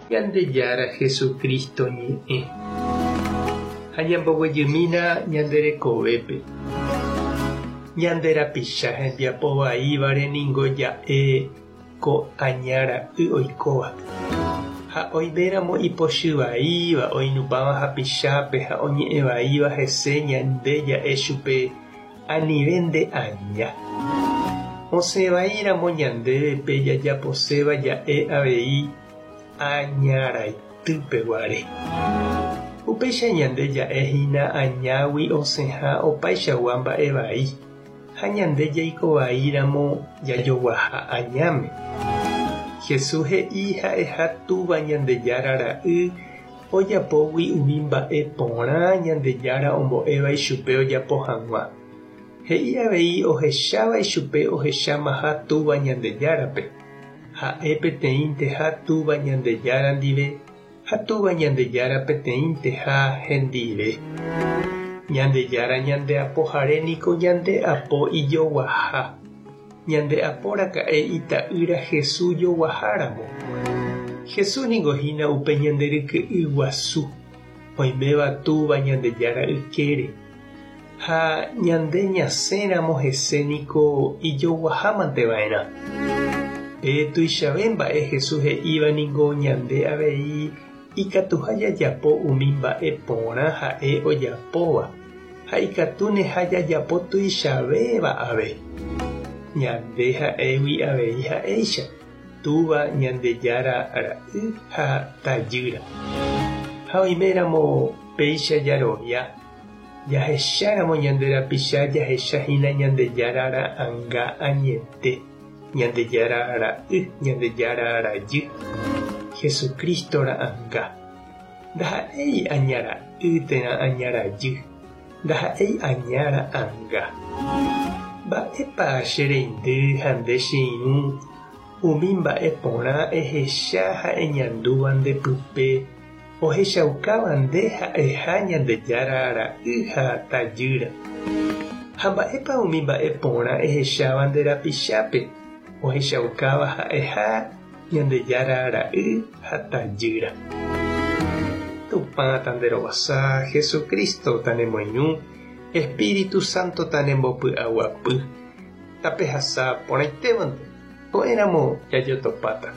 Ñandejára Jesucristo ñe'ẽ. Ha ñamboguejymína ñande rekovépe. Ñande rapicha hembiapo vaívare ningo ja'e ko aña ra'y oikóva. Ha oiméramo ipochy vaíva oinupãva hapichápe ha oñe'ẽ vaíva hese ñande ja'e chupe anive nde aña. Osẽ vaíramo ñandéve pe jajaposéva ja'e avei aña raitýpe guare. Upéicha ñande ja'e hína añágui osẽha opaichagua mba'e vai, ha ñande jaiko vaíramo jajoguaha añáme. Jesús he'i ha'eha Túva Ñandejára Ra'y ojapógui umi mba'e porã Ñandejára ombo'éva ichupe ojapo hag̃ua. He'i avei ohecháva ichupe ohechámaha Túva Ñandejárape. Ha'e peteĩnteha Túva Ñandejára ndive ha Túva Ñandejára peteĩnteha hendive. Ñandejára ñande Apohare niko ñande apo ijoguaha. Ñande apo raka'e Ita'ýra Jesús joguaháramo. Jesús niko hína upe ñande ryke'y guasu, oiméva Túva Ñandejára ykére. Ha ñande ñasẽramo hese niko ijoguahámante va'erã. Pe tuichave mba'e Jesús he'íva ningo ñande avei ikatuha jajapo umi mba'e porã ha'e ojapóva, ha ikatúneha jajapo tuichavéva ave. Ñande ha'égui avei ha'éicha, Túva Ñandejára ra'y ha tajýra. Ha oiméramo péicha jarovia, Jahecháramo ñande rapicha jahecha hína Ñandejára ra'anga añete, Ñandejára Ra'y, Ñandejára Rajy, Jesucristo ra'anga. Ndaha'éi aña ra'y térã aña rajy, ndaha'éi aña ra'anga. Mba'épa che reindy ha nde che irũ umi mba'e porã ehecha ha eñandúva nde pype Ohechaukáva nde ha'eha Ñandejára ra'y ha tajýra. Ha mba'épa umi mba'e porã ehecháva nde rapichápe ohechaukáva ha'eha Ñandejára ra'y ha tajýra? Tupã tanderovasa, Jesucristo tanemoirũ, Espíritu Santo tanembopy'aguapy. Tapehasa porãitévante, ko'ẽramo jajotopáta.